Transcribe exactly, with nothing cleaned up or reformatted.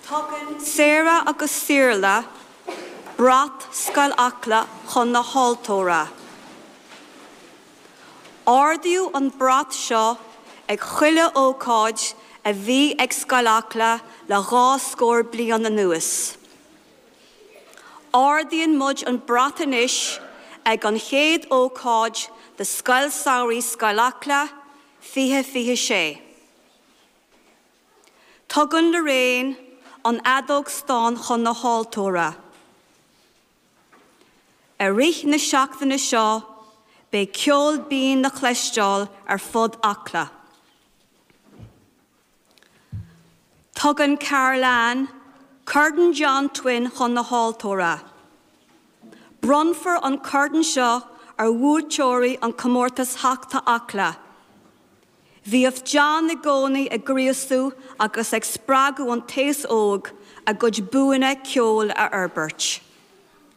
Tugann Sarah agus Saorla brat Scoil Acla chun na haltóra. Ardaíodh an brat seo ag chuile ócáid a bhí ag Scoil Acla le dhá scór bliain anuas. Ardaíonn muid an brat anois ag an chéad ócáid de Scoil Samhraidh Scoil Acla fiche fiche sé. Tugann Lorraine an fheadóg stáin chun na haltóra. I rith na seachtaine seo beidh ceol binn le cloisteáil ar fud Acla. Tugann Caroline Corn John Twin chun na haltóra. Bronnfar an corn seo ar bhuaiteoirí an comórtas Theachta Acla. Bhíodh John i gcónaí ag gríosú agus ag spreagadh an t-aos óg a gcuid buanna ceoil a fhorbairt.